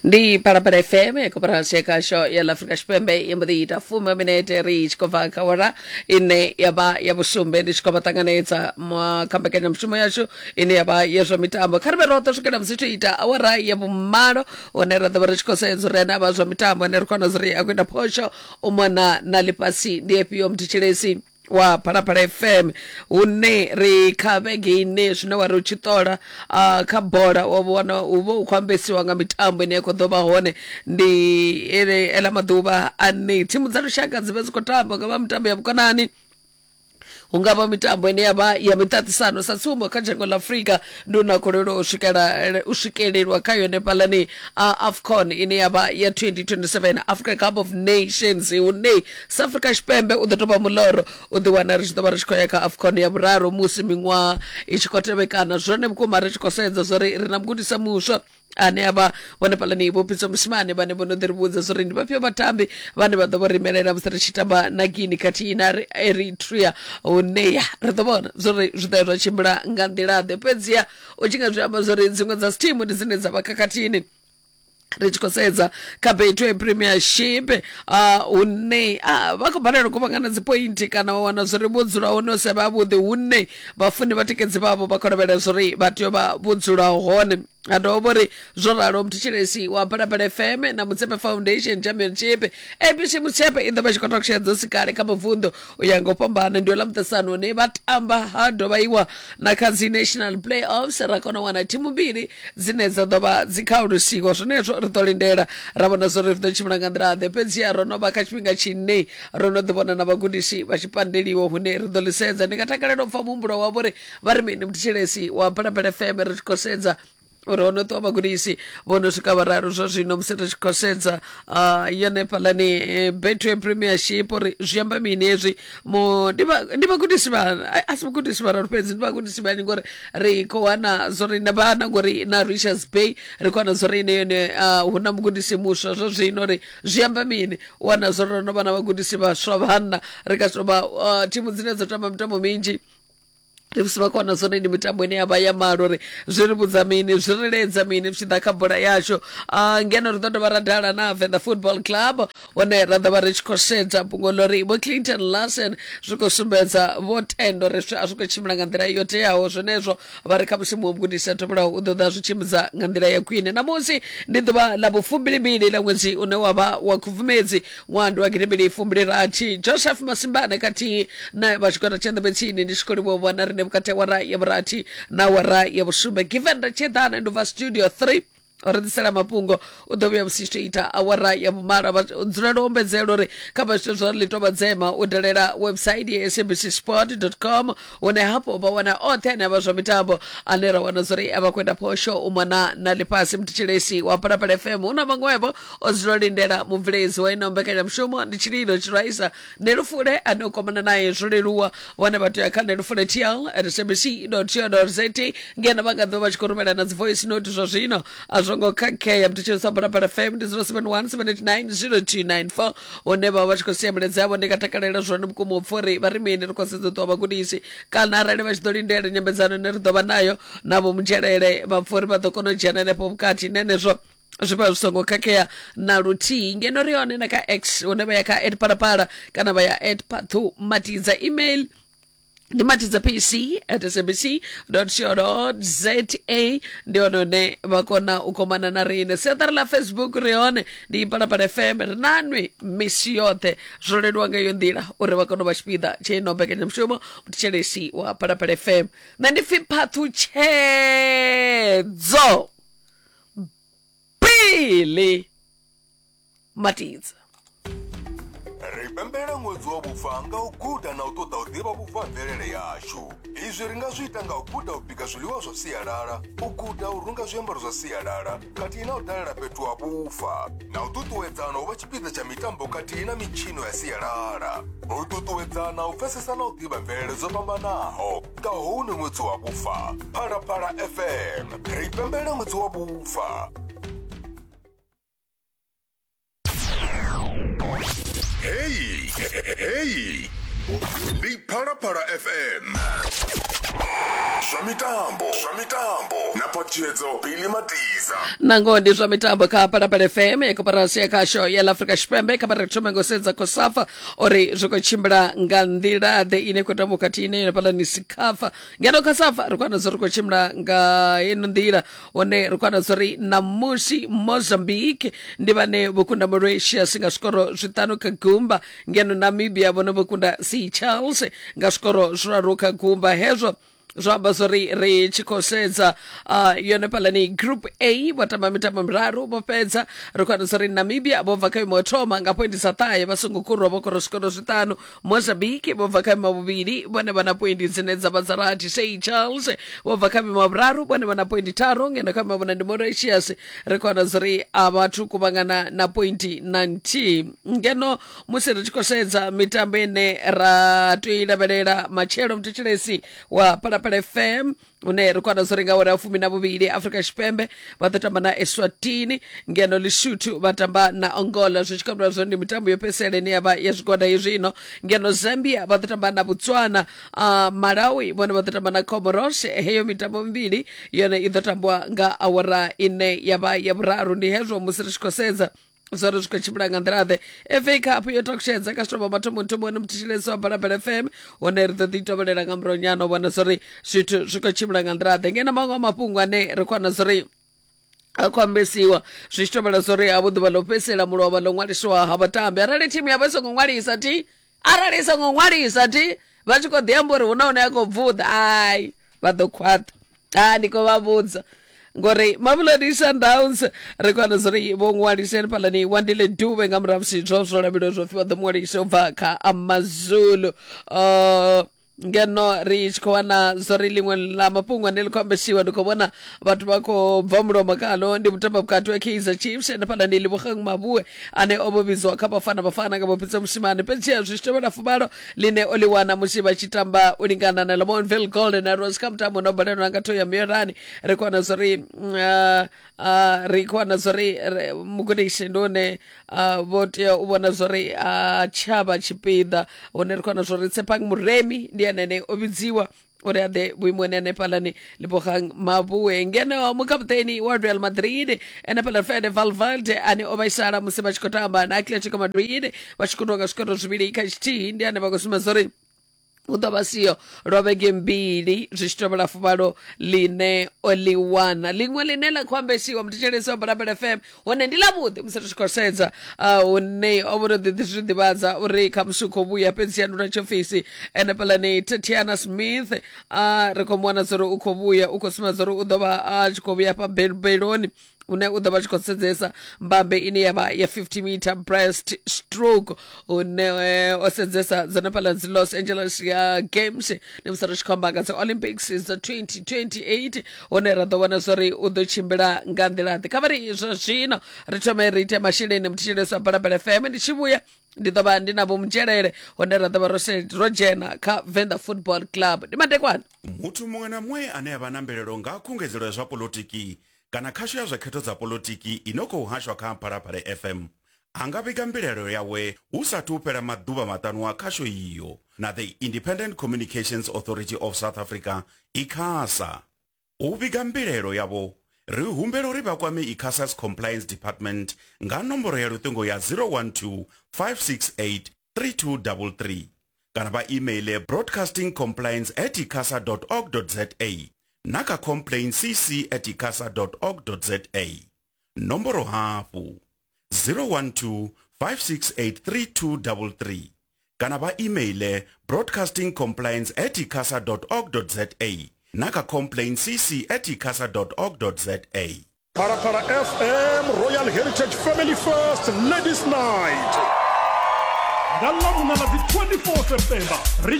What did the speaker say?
Ndi Phalaphala FM ya koporasi ya khasho ya ḽa Afrika Tshipembe ya mbo ḓi ita fumi minete ri tshi khou bva kha awara ine ya vha ya vhusumbe. Ndi tshi khou vha ṱanganedza kha mbekanyamushumo yashu ine ya vha ya zwa mitambo. Kha ri vhe roṱhe swikela musi tshi ita awara ya vhumalo, hune ra ḓo vha ri tshi khou sedza uri ane a vha zwa mitambo ane ri khou wana uri a khou ita phosho u mona na ḽifhasi ndi efhio. Muthetshelesi wa Phalaphala FM, hune ri kha vhege ine zwine wa ri u tshi ṱola kha bola wa vhona u vha u khou ambesiwa nga mitambo ine ya khou ḓo vha hone. Ndi ele ela maḓuvha ane thimu dza lushaka dzi vha dzi khou tamba, nga vha mitambo ya vhukonani, hu nga vha mitambo ine ya vha ya miṱaṱisano. Sa tsumbo, kha dzhango ḽa Afrika ndi una kolelo u swikela u swikelelwa kha yone fhaḽani AFCON ine ya vha ya 2027 Africa Cup of Nations, hune South Africa Tshipembe u ḓo tou vha muloro u ḓi wana ri tshi ḓo vha ri tshi khou ya kha AFCON ya vhuraru musi miṅwaha i tshi khou tevhekana. Zwone vhukuma ri tshi khou sedza zwori ri na mugudisa muswa ane a vha vhone fhaḽani Vho Pitso Mosimane, vhane vho no ḓi ri vhudza zwori ndi vhafhio vhatambi vhane vha ḓo vho ri imelela musi ri tshi tamba na Guinea khathihi na Eritrea, hune ya ri ḓo vhona zwori zwi ḓo ya zwa tshimbila nga nḓila ḓe. Fhedziha u tshi nga zwi amba zwori dziṅwe dza thimu ndi dzine dza vha khakhathini, ri tshi khou sedza kha Betway Premiership, hune vha khou balelwa u kuvhangana dzi pointi kana wa wana zwori vho dzula hone u sa vha vhuḓi, hune vhafuni vhatikedzi vhavho vha khou lavhelela zwori vha tea u vha vho dzula hone. Ha dovha vho ri zwo ralo, muthetshelesi wa Phalaphala FM, na Mutsepe Foundation Championship ABC Mutsepe i ḓo vha tshi khou takutshedza sikale kha mabvunḓu u ya nga u fhambana. Ndi ḽa muṱaṱisano hune vha tamba ha dovha iwa na kha dzi national playoffs, ra kona u wana thimu mbili dzine dza ḓo vha dzi kha ulusiwa. Zwenezwo ri ḓo lindela ra vhona zwori ri ḓo tshimbila nga nḓila ḓe. Fhedziha ro no vha kha tshifhinga tshine ro no ḓi vhona na vhagudisi vha tshi pandeliwa, hune ri ḓo ḽi sedza. Ndi nga takalela u pfa muhumbulo wavho uri vha ri mini, muthetshelesi wa Phalaphala FM, ri tshi khou sedza uri ho no ṱuwa vhagudisi vho no swika vhararu zwa zwino. Musi ri tshi khou sedza yone fhaḽani Betway Premiership, uri zwi amba mini hezwi, ndi vhagudisi vha a si vhagudisi vhararu fhedzi, ndi vhagudisi vhanzhi, ngori ri khou wana zwori na vhana, ngori na Richards Bay ri khou wana zwori ine yone hu na mugudisi muswa zwa zwino, uri zwi amba mini u wana zwori ro no vha na vhagudisi vhaswa vhanna. Ri ka tou vha thimu dzine dzo tamba mitambo minzhi, ndi musi vha kona zwone ndi mitambo ine ya vha ya malo, uri zwi ri vhudza mini, zwi ri ledza mini zwi tshi ḓa kha bola yashu. Ngeno ri ḓo dovha ra dala na Venḓa Football Club, hune ra ḓo vha ri tshi khou sedza fhungo ḽo ri Vho Clinton Larsen zwi khou sumbedza vho tenda uri a zwi khou tshimbila nga nḓila yo teaho. Zwenezwo vha ri kha musi muṅwe mugudisi a tevhelaho u ḓo ḓa zwi tshimbidza nga nḓila ya khwine. Ṋamusi ndi ḓuvha ḽa vhufumbilimbili ḽa ṅwedzi une wa vha wa Khubvumedzi, ṅwaha ndi wa 2026. Joseph Masimbane khathihi na vha tshigwada tsha Nḓevhetsini, ndi tshi khou livhuwa vhona rine vhukati ha wara ya vhurathi na wara ya vhusumbe. Given Ratsheḓana ndi bva studio 3 ri ḓisela mafhungo, u ḓo vhuya musi tshi ita awara ya vhumalo. Vha dzulela u ombedzela uri kha vha zwithu zwa ḽi tovha dzema u dalela website ya sabc sport com, hune hafho vha wana oṱhe ane a vha zwa mitambo ane ra wana zwori a vha khou ita phosho u mona na ḽifhasi. Muthetshelesi wa Phalaphala FM, hu na vhaṅwevho o dzula lindela mubveledzi wa ino mbekanyamushumo, ndi Tshililo Tshiraisa Nelufule, ane u kwamana naye zwo leluwa. Vhone vha tea kha nelufule tl at sabc co za, ngeno vha nga ḓo vha tshi khou rumela na dzi voice note. Zwa zwino a zwo ngo khakhea. Muthetshelesi wa Phalaphala FM, ndi 071 789 0294, hune vha vha tshi khou sia milaedza yavho. Ndi nga takalela zwone vhukuma u pfa uri vha ri mini. Ri khou sedza u ṱuwa vhagudisi, kana arali vha tshi ḓo lindela nyambedzano ine ri ḓo vha nayo navho Mudzhelele, vha pfa uri vha ḓo kona u dzhena henefho vhukati nenezwo zwi vha zwi songo khakhea na luthihi. Ngeno ri hone na kha X, hune vha ya kha at Phalaphala kana vha ya at Pathu Matidza. Email ndi matidza pc at sabc co za, ndi hone hune vha kona u komana na riṋe. Siaṱari ḽa Facebook ri hone, ndi Phalaphala FM, ri nanwi misi yoṱhe. Zwo leluwa nga iyo nḓila uri vha kone u vha tshipiḓa tsha ino mbekanyamushumo. Muthetshelesi wa Phalaphala FM, nṋe ndi pfi Phaṱhutshedzo Pili Matidza. Ri pembelela ṅwedzi wa vhufa nga u guda na u ṱoḓa u ḓivha vhufa ha mvelele yashu. Izwi ri nga zwi ita nga u guda u bika zwiḽiwa zwa sialala, u guda u runga zwiambaro zwa sialala khathihi na u dalela fhethu ha vhufa, na u ṱuṱuwedzana u vha tshipiḓa tsha mitambo khathihi na mitshino ya sialala. U ṱuṱuwedzana u pfesesa na u ḓivha mvelele dzo fhambanaho nga houno ṅwedzi wa vhufa. Phalaphala FM, ri pembelela ṅwedzi wa vhufa. Hey, hey, ndi Phalaphala FM. Zwa mitambo, zwa mitambo na phaṱhutshedzo Billy Matiza. Nangoho ndi zwa mitambo kha Phalaphala FM ya koporasi ya khasho ya ḽa Afrika Tshipembe. Kha vha ri thome ngo sedza Kosafa uri zwi khou tshimbila nga nḓila ḓe ine khou tambiwa khathihi na yone fhaḽani Sikafa. Ngeno Kosafa ri khou wana zwo ri khou tshimbila nga ino nḓila, hone ri khou wana zwo ri ṋamusi Mozambique ndi vhane vho kunda Mauritius nga zwikoro zwiṱanu kha gumba, ngeno Namibia vhone vho kunda Seychelles nga zwikoro zwiraru kha gumba. Hezwo zwo amba zwori ri tshi khou sedza yone fhalani group A vho tamba mitambo miraru vho fhedza. Ri khou wana zwori Namibia vho bva kha imo thoma nga pointi dza ṱahe vha songo kurwa, vho kora zwikoro zwiṱanu. Mozambique vho bva kha imo vhuvhili, vhone vha na pointi dzine dza vha dza rathi. Seychelles vho bva kha imo vhuraru, vhone vha na pointi tharu, ngeno kha imo vhuna ndi Mauritius, ri khou wana zwori a vhathu kuvhangana na pointi na nthihi. Ngeno musi ri tshi khou sedza mitambo ine ra tea u i lavhelela matshelo, muthetshelesi wa Phalaphala FM, une ri khou wana zwori nga awara ya 12 Afrika Tshipembe vha ḓo tamba na Eswatini, ngeno Lesotho vha tamba na Angola, zwi tshi khou amba zwori ndi mitambo yo fhedzisela ine ya vha ya zwigwada hezwino. Ngeno Zambia vha ḓo tamba na Botswana, Malawi vhone vha ḓo tamba na Comoros. Heyo mitambo mivhili yone i ḓo tambiwa nga awara ine ya vha ya vhuraru. Ndi hezwo musi ri tshi khou sedza zwori zwi khou tshimbila nga nḓila-ḓe. FA Cup yo takutshedza kha zwitovha mathomoni muthetshelesi wa Phalaphala FM, hone ri ḓo ḓi tovhelela nga murahunyana u vhona zwori zwithu zwi khou tshimbila nga nḓila-ḓe. Ngeno maṅwe a mafhungo ane ri khou wana zwori a khou ambesiwa zwi tshi tovhela zwori havho ḓuvha ḽo fhedzisela mulovha ḽo ṅwaliswa ha vhatambi, arali thimu yavho i songo ṅwalisa thi, arali i songo ṅwalisa thi, vha tshi khou ḓi amba uri hu na hune a khou bvuḓa, ai vha ḓo khwaṱha. A ndi khou vha vhudza ngori Mamelodi Sundowns ri khou wana zwori vho ṅwalisa hanefhaḽani Wandile Dube nga murahu musi zwo zwo lavhelelwa zwo pfhi vha ḓo ṅwalisa u bva kha Amazulu. Ngeno ri tshi khou wana zwori ḽiṅwe ḽa mafhungo ane ḽi khou ambesiwa, ndi khou vhona vhathu vha khou bva mulomo khaḽo, ndi mutamba vhukati wa Kaizer Chiefs hanefhaḽani Lebogang Mabue ane o vho vhidzwa kha Bafana Bafana nga Vho-Pitso Mosimane, fhedziha zwi tshi tevhela fuvhalo ḽine o ḽi wana musi vha tshi tamba u lingana na Lamontville Golden Arrows kha mutambo no balelwa nga thoya Muyelani. Ri khou wana zwori ri khou wana zwori mugudisi ndi une vho tea u vhona zwori a tshavha tshipiḓa, hune ri khou wana zwori Tshepang Muremi ndi ene ane o vhidziwa uri a ḓe vhuimoni hanefhaḽani Lebogang Mabue. Ngeno mukaputeni wa Real Madrid hanefhaḽa Fede Valverde ane o vhaisala musi vha tshi khou tamba na Atletico Madrid vha tshi kundwa nga zwikoro zwivhili kha tshithihi, ndi ane vha khou sumbedza uri u ḓo vha siho lwa vhege mbili zwi tshi tovhela fuvhalo ḽine o ḽi wana. Ḽiṅwe ḽine ḽa khou ambesiwa muthetshelesi wa Balabala FM hone ndi ḽavhuḓi musi ri tshi khou sedza hune o vho ḓi ḓi zwi ḓivhadza uri khamusi u khou vhuya, fhedzi ya nduna tshiofisi henefhaḽani Tatiana Smith ri khou mu wana uri u khou vhuya, u khou sumbedza uri u ḓo vha a tshi khou vhuya fha beloni hune u ḓo vha tshi khou sedzesa mbambe ine ya vha ya 50 meter breast stroke, hune o sedzesa dzone fhaḽa dzi Los Angeles ya Games, ndi musi ri tshi khou amba nga dzi Olympics dza 2028, hune ra ḓo vhona zwori u ḓo tshimbila nga nḓila ḓe. Kha vha ri zwa zwino ri thome ri ite masheleni muthetshelesi wa Phalaphala FM, ndi tshi vhuya ndi ḓo vha ndi na Vho Mudzhelele, hune ra ḓo vha ro dzhena kha Venḓa Football Club. Ndi madekwana. Muthu muṅwe na muṅwe ane a vha na mbilaelo nga khungedzelo ya zwa poḽotiki kana khasho ya zwa khetho dza poḽotiki i no khou hashwa kha Phalaphala FM a nga vhiga mbilaelo yawe hu sa athu u fhela maḓuvha maṱanu a khasho iyo na The Independent Communications Authority of South Africa, ICASA. U vhiga mbilaelo yavho, ri humbela uri vha kwame ICASA's Compliance Department nga nomboro ya luṱingo ya 012 568 3233 kana vha imeiḽe broadcastingcompliance at icasa dot org dot za na kha complaintcc at icasa dot org dot za. Nomboro hafhu 012 568 3233 kana vha imeiḽe broadcastingcompliance at icasa dot org dot za na kha complaintcc at icasa dot org dot za. Phalaphala FM Royal Heritage Family First Ladies Night. Nga Ḽavhuṋa ḽa dzi 24 September ri.